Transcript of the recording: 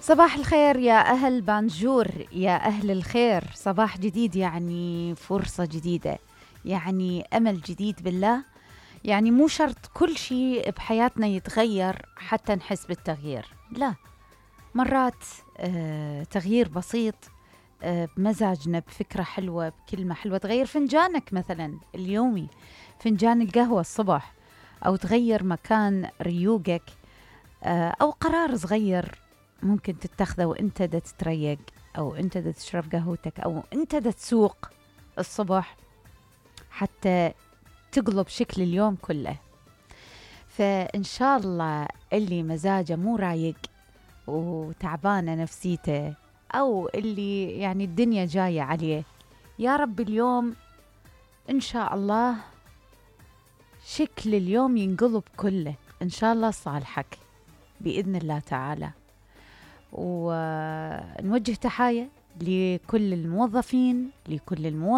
صباح الخير يا أهل بانجور، يا أهل الخير. صباح جديد يعني فرصة جديدة، يعني أمل جديد بالله. يعني مو شرط كل شيء بحياتنا يتغير حتى نحس بالتغيير، لا، مرات تغيير بسيط بمزاجنا، بفكرة حلوة، بكلمة حلوة تغير فنجانك مثلا اليومي، فنجان القهوة الصبح، أو تغير مكان ريوقك، أو قرار صغير ممكن تتخذه وانت دا تتريق، أو انت دا تشرب قهوتك، أو انت دا تسوق الصبح، حتى تقلب شكل اليوم كله. فإن شاء الله اللي مزاجه مو رايق وتعبانة نفسيته، أو اللي يعني الدنيا جاية عليه، يا رب اليوم إن شاء الله شكل اليوم ينقلب كله إن شاء الله صالحك بإذن الله تعالى. ونوجه تحايا لكل الموظفين، لكل